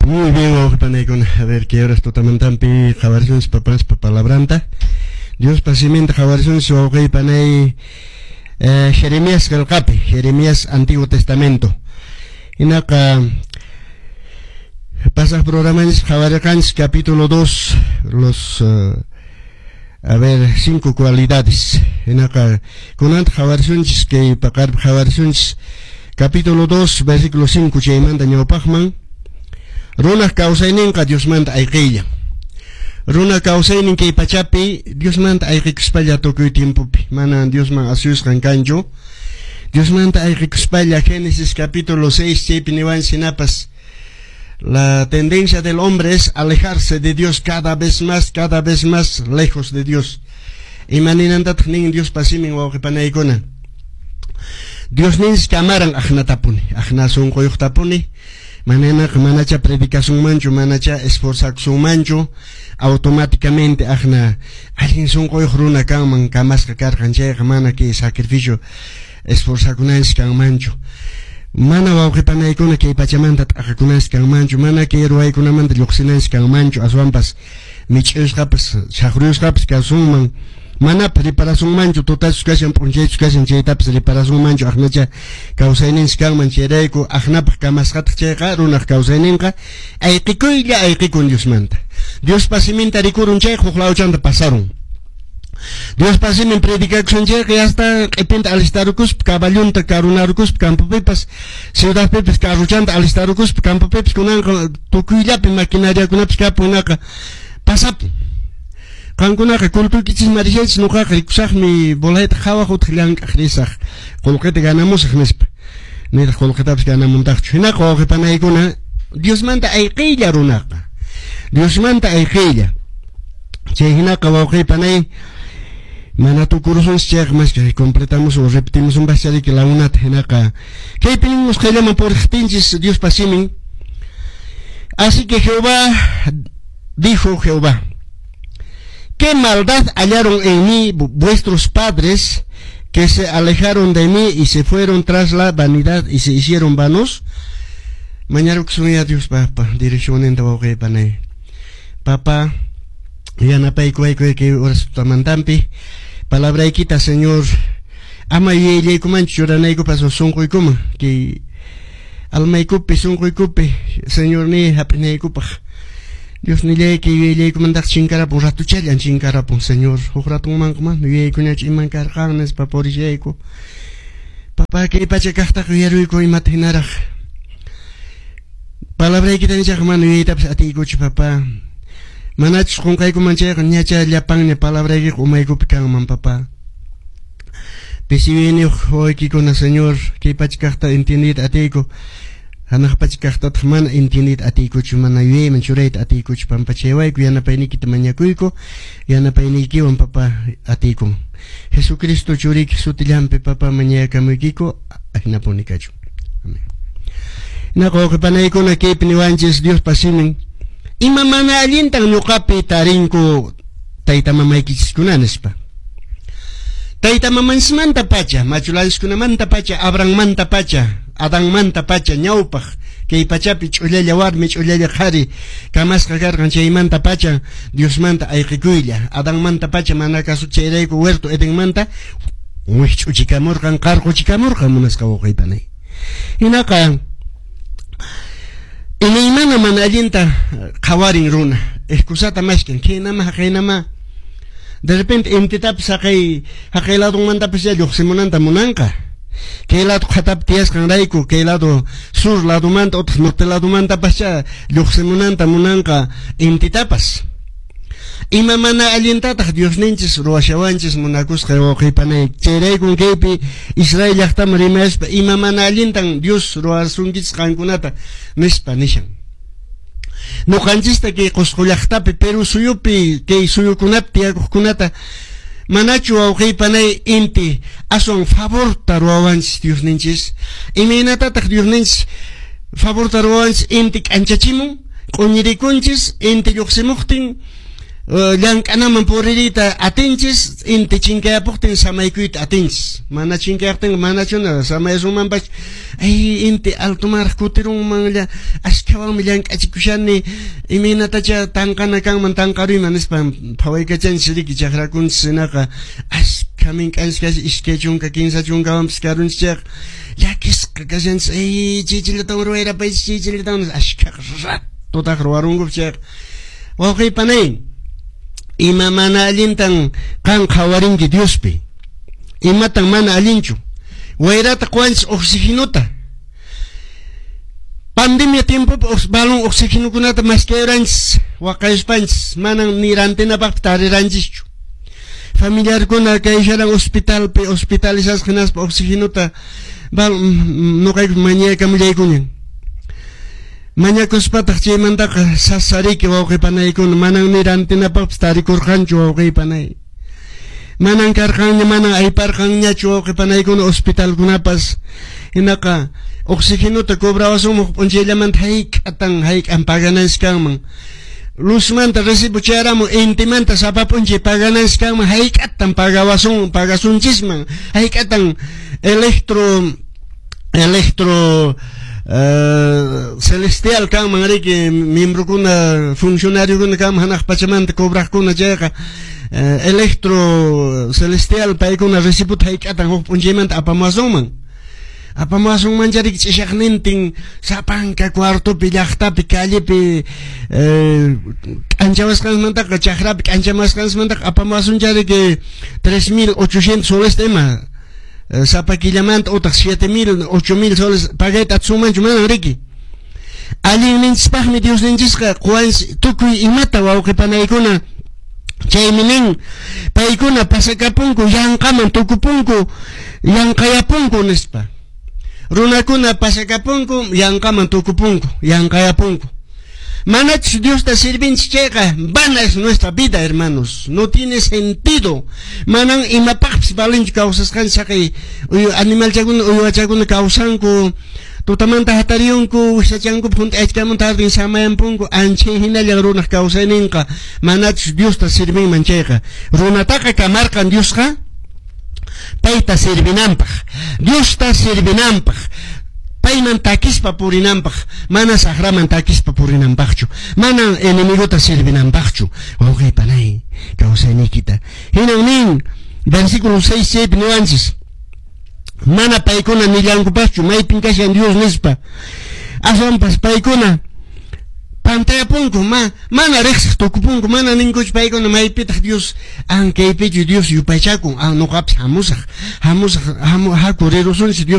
Muy bien, wawqipanaykuna. A ver, kay horas tutamantampi qhawarisunchis papanspa palabranta. Diospa siminta qhawarisunchis wawqipanay Jeremías qillqapi, Jeremías Antiguo Testamento. Hinaqa pasaq programanchis qhawarirqanchis capítulo 2, los a ver, cinco cualidades. Hinaqa kunanta qhawarisunchis kay paqarpi qhawarisunchis capítulo 2, versículo 5 chaymanta ñawpaqman. Runaq kawsayninqa Diosmanta ayqiylla. Runa kawsaynin kay pachapi Diosmanta ayqikuspalla tukuy tiempopi mana Diosman asuyusqan kanchu. Diosmanta ayqikuspalla Génesis capítulo 6 chaypi niwanchis hinapas la tendencia del hombre es alejarse de Dios cada vez más lejos de Dios. Ima ninantataq nin Diospa simin wawqipanaykuna. Diosninchis kamaran aqnatapuni, aqna sunquyuqtapuni. Mananaqa manacha predicasunmanchu, manacha esforzakusunmanchu, automáticamente aqna allin sunquyuq runa kanman kamasqa karqan chayqa mana kay sacrificio esforzakunanchis kanmanchu. Mana wawqipanaykuna kay pachamanta t'aqakunanchis kanmanchu, mana kay ruwaykunamanta lluqsinanchis kanmanchu, aswanpas mich'usqapas, chaqruyusqapas kasunman. Mana preparasunmanchu tutachus kashan p'unchaychus kashan chaytapas reparasunmanchu aqnacha kawsayninchis kanman chayrayku aqnapaq kamasqataq chayqa runaq kawsayninqa ayqikuylla ayqikun Diosmanta. Diospa siminta rikurun chayqa huk lawchanta pasarun. Diospa simin predicakusan chayqa hasta q'ipinta alistarukuspa caballunta karunarukuspa campopipas ciudadpipas carruchanta alistarukuspa campopipas kunanqa tukuyllapi maquinariakunapas kapunaqa pasapun. Qankunaqa cultuykichis marishaychis nuqaqa rikusaqmi bolayta qhawaq utaq llank'aq risaq qullqita ganamusaq nispa. Nitaq qullqitapas ganamuntaqchu. Hinaqa wawqipanaykuna Diosmanta ayqiylla runaqa. Diosmanta ayqiylla. Chay hinaqa wawqipanay mana tukurusunchis chayqa maski completamos o repetimos un bachariki la unata hinaqa kaypi ninmus qayllaman puriqtinchis Diospa simin. Así que Jehová dijo Jehová: ¿Qué maldad hallaron en mí vuestros padres que se alejaron de mí y se fueron tras la vanidad y se hicieron vanos? Mañarukusunya Dios papa direccionninta wawqipanay. Papa yanapaykuwayku kay horas tutamantampi palabraykita Señor ama yuyayllaykumanchu churanaykupas sunquykuman kay almaykupi sunquykupi Señor ni hap'inaykupaq. Dios nillayki yuyayllaykumantaq chinkarapun ratuchallan chinkarapun Señor huk ratunmanqa mana yuyaykuñachu iman karqan nispa purishayku. Papá kay pacha kaqtaq yuyaruyku imata hinaraq palabraykita nichaqa mana yuyaytapas atiykuchu papá. Manachus qunqaykuman chayqa ñacha llapanña palabraykiqa umaykupi kanman papá. Pisi yuyayniyuq wawaykikuna Señor kay pacha kaqta entiendiyta atiyku. Hanaq pacha kaqtataq mana entiendiyta atiykuchu, mana yuyayman churayta atiykuchu. Pampachaywayku yanapayniykita mañakuyku, yanapayniykiwan papá atiykun. Jesucristo churiyki sutillanpi papá mañakamuykiku, ahinapuni kachun. Amén. Hinaqa wawqipanaykuna kaypi niwanchis Diospa simin. Ima mana allintan ñuqapi tarinku tayta mamaykichiskuna nispa. Tayta mamanchismanta pacha, machulanchiskunamanta pacha, Abrahammanta pacha, Adanmanta pacha, ñawpaq kay pachapi ch'ullalla warmi, ch'ullalla qhari kamasqa karqan chaymanta pacha Diosmanta ayqikuylla. Adanmanta pacha mana kasu chayrayku huerto Edenmanta wikch'uchikamurqan, qarquchikamurqan munasqa wawqipanay. Hinaqa imaymana mana allinta qhawarin runa, excusata mashkan, khaynama haqaynama. De repente intitapas haqay haqay ladonmantapas ya lluqsimunanta munanqa. Kay lado qhatapi tiyasqanrayku, kay lado sur ladomanta utaq norte ladomantapas lluqsimunanta munanqa intitapas. Ima mana allintataq Diosninchis ruwashawanchis munakusqa wawqipanay. Chayraykun kaypi Israel llaqtaman rimayaspa ima mana allintan Dios ruwasunkichis qankunata nispa nishan. Nuqanchista kay Qusqu llaqtapi, Perú suyupi, kay suyukunapi tiyakuqkunata manachu wawqipanay inti aswan favorta ruwawanchis Diosninchis? Imaynatataq Diosninchis favorta ruwawanchis inti k'anchachimun, q'uñirikunchis, inti lluqsimuqtin Llank'anaman puririyta atinchis, inti chinkayapuqtin samaykuyta atinchis. Mana chinkayaqtinqa manachuna samayasunmanpas. Ay, inti altomanraq kutirunmanlla, askhawanmi llank'achikushani, imaynatacha tanqana kanman tanqaruyman nispa phawaykachanchis riki chakrakunchis hinaqa askha mink'anchis kashan 20 30 karunchis chayqa llakisqa kashanchis. Ay, chaychallatawan ruwayrapaychis, chaychallatawan askhaqa ratotaq ruwarunkupas chayqa. Wawqiy panay, ima mana allintan qan qhawarinki Diospi? Imatan mana allinchu? Wayrata qowanchis oxigenota. Pandemia tiempopi balón oxigenokunata maskayuranchis, waqayuspanchis, manan ni rantinapaqpi tariranchischu. Familiarkuna kaysharan hospitalpi, hospitalizasqa hinaspa oxigenota noqayku mañaykamullaykuñan. Mañakuspataq chaymantaqa sasariki wawqi panaykuna, manan ni rantinapaqpis tarikurqanchu wawqi panay. Manan karqanña, manan ayparqanñachu wawqi panaykuna hospitalkunapas. Hinaqa oxigenota cobrawasunman huk p'unchayllamanta hayk'atan hayk'an pagananchis kanman. Luzmanta recibo chayaramun intimanta sapa p'unchay pagananchis kanman hayk'atan pagawasun pagasunchisman hayk'atan electro celestial kanman riki miembrokuna funcionariokuna kanman hanaq pachamanta cobraqkuna chayqa electro celestial paykuna recibota hayk'atan huk p'unchaymanta apamuwasunman. Apamuwasunman chariki ch'ishaqnintin sapanka cuartopi llaqtapi callepi k'anchawasqanmantaqa chakrapi k'anchamasqanmantaqa apamuwasun chariki 3800 soles ima sapa killamanta utaq 7000 8000 soles pagayta atisunmanchu manan riki. Allinninchispaqmi Diosninchisqa quwanchis tukuy imata wawqi panaykuna. Chaymi nin paykuna pasakapunku yanqaman tukupunku yanqayapunku nispa. Runakuna pasakapunku yanqaman tukupunku yanqayapunku. Manachus Diosta sirvinchis chayqa vana es nuestra vida, hermanos. No tiene sentido. Manan imapaqpis valinchu kawsasqanchis haqay animalchakuna uywachakuna kawsanku. Tutamanta hatariyunku, wisachankupi hunt'aychkamun tardin samayampunku, anchay hinallan runaq kawsayninqa manachus Diosta sirvinman chayqa. Runataqa kamarqan Diosqa payta sirvinanpaq, Diosta sirvinanpaq, payman takispa purinanpaq, mana saqraman takispa purinanpaqchu, mana enemigota sirvinanpaqchu. Wawqi panay, kawsayniykita. Hinan nin, versículo 6 chaypi niwanchis. Mana paykuna nillankupaschu maypin kashan Dios nispa. Aswanpas paykuna pantayapunku, mana riqsiq tukupunku, mana ninkuchu paykuna maypitaq Dios ankaypichu Dios yupaychakun, noqapis hamusaq, hamusaq, haku rirusunchis Dios.